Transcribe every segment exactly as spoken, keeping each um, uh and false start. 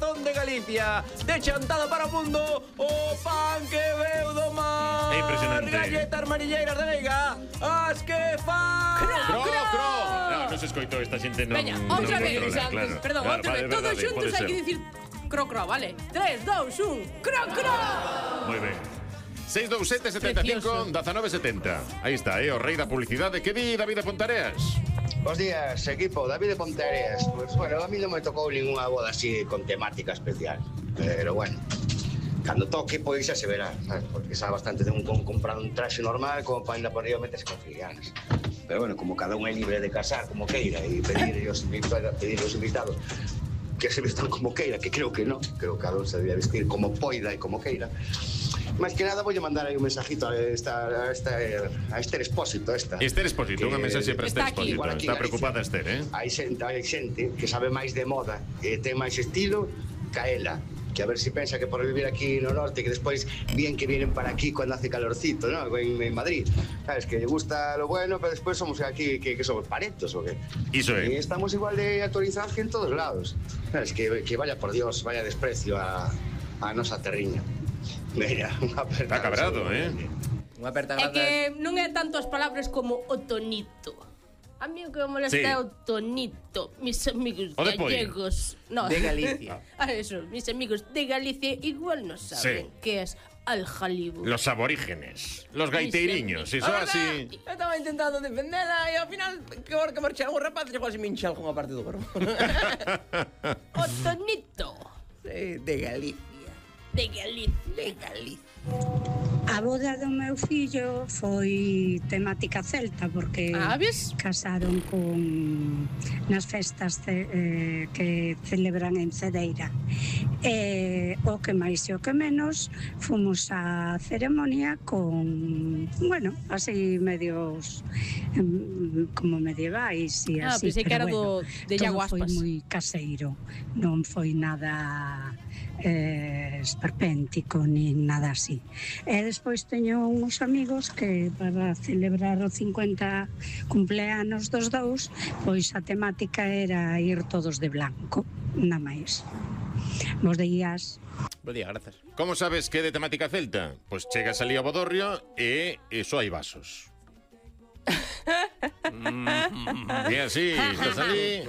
corazón de Galicia. De chantada para o mundo, o pan que veu do mar. É impresionante. Galletas manilleiras de Veiga, as que fan. Cro, cro. No, non se escoitou esta xente, non. Veña, non outra vez. controla, claro. Perdón, Claro, outra vale, vez. Todos verdade, xuntos pode hai que ser. dicir cro, cro, vale? tres, dos, un, cro, cro. Moi ben. seis dous sete, setenta e cinco, dezanove setenta. Aí está, eh, o rei da publicidade. Que di David de Pontareas? Bos días, equipo, David de Pontareas. Pues bueno, a mí non me tocou ninguna boda así con temática especial. Pero bueno, cando toque, pois xa se verá, sabes? Porque sabe bastante de un con comprar un traxe normal como para ainda por arriba meterse con filianas. Pero bueno, como cada un é libre de casar como queira e pedir os invitados, pedir os invitados que se vestan como queira, que creo que non, creo que cada un se debía vestir como poida e como queira. Máis que nada, vou mandar aí un mensajito a esta, a esta, a Esther Expósito, esta. Esther Expósito, unha mensaxe para Esther Está aquí. Expósito. Igual aquí Está en preocupada Galicia. Esther, eh? Hai xente, hai xente que sabe máis de moda e ten máis estilo que a ela. Que a ver si pensa que por vivir aquí no norte, que despois bien que vienen para aquí cuando hace calorcito, ¿no? En, en Madrid. Sabes, que lle gusta lo bueno, pero despois somos aquí, que, que somos parentos, o que? Iso é. E estamos igual de actualizados que en todos lados. Sabes, que, que vaya por Dios, vaya desprecio a, a nosa terriña. Mira, unha aperta. Está cabrado, eh? Unha aperta É grazas. que non é tanto as palabras como o tonito. A mí o que me molesta Sí. é o tonito. Mis amigos O de pollo. gallegos. No. De Galicia. Ah, eso, mis amigos de Galicia igual no saben Sí. que es al jalibu. Los aborígenes, los gaiteiriños, iso A así. verdad, eu estaba intentando defendela e ao final que hora que marchei algún rapaz chegou así me hincha algunha parte do corpo. O tonito Sí, de Galicia. de Galicia. De Galicia. A boda do meu fillo foi temática celta porque Ah, ves? casaron con nas festas ce, eh, que celebran en Cedeira. E o que máis e o que menos fomos á ceremonia con, bueno, así medios em, como medievais e Ah, así, pensei que pero era bueno, do- de todo Iago foi Aspas. moi caseiro, non foi nada eh, esperpéntico ni nada así. E despois teño uns amigos que para celebrar o cincuenta cumpleanos dos dous, pois a temática era ir todos de blanco, nada máis. Bos días. Bo día, grazas. Como sabes que é de temática celta? Pois chegas ali ao bodorrio e só hai vasos. E así, estás ali.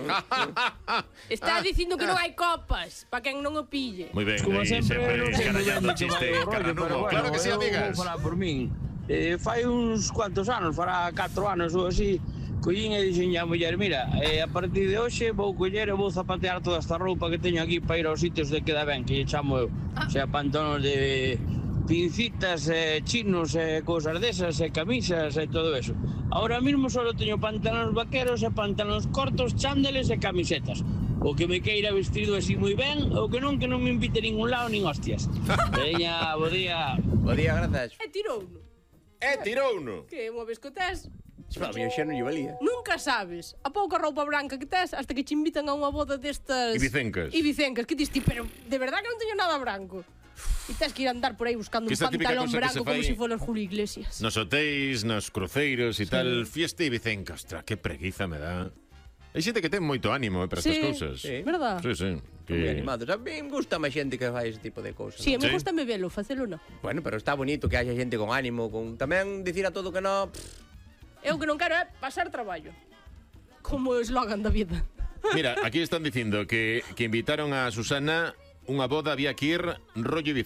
Está Ah, dicindo que non hai copas, para quen non o pille. Moi ben, Como aí sempre, sempre non sei moi ben escarallando de que chiste vai o rollo, carranudo. pero bueno, Claro que sí, eu amigas. vou falar por min. Eh, fai uns cuantos anos, fará catro anos ou así, collín e dixen a muller, mira, eh, a partir de hoxe vou coller e vou zapatear toda esta roupa que teño aquí para ir aos sitios de queda ben, que lle chamo eu. O sea, pantalóns de pincitas, eh, chinos, e eh, cousas desas, e eh, camisas e todo eso. Ahora mismo só teño pantalóns vaqueros e pantalóns cortos, chándeles e camisetas. O que me queira vestido así moi ben, o que non, que non me invite a ningún lado nin hostias. Veña, bo día. Bo día, grazas. E tirouno. E tirouno. Que unha vez que o tes, Xa, a mí xa non lle valía. nunca sabes a pouca roupa branca que tes hasta que te invitan a unha boda destas... Ibicencas. Ibicencas, que dis ti, pero de verdad que non teño nada branco. E tens que ir a andar por aí buscando Que un esta típica pantalón cosa que branco se como fai se si foras Julio Iglesias. Nos hotéis, nos cruceiros e tal, fiesta ibicenca. Ostra, que preguiza me dá. Hai xente que ten moito ánimo eh, para estas Sí, cousas. sí. Verdad? Sí, sí. Que... Moi Que... animados. A mí me gusta máis xente que fai ese tipo de cousas. Sí, a mí Sí. gusta me velo, facelo non. Bueno, pero está bonito que haya xente con ánimo, con tamén dicir a todo que no. Eu que non quero é pasar traballo. Como o eslogan da vida. Mira, aquí están dicindo que, que invitaron a Susana unha boda, había que ir rollo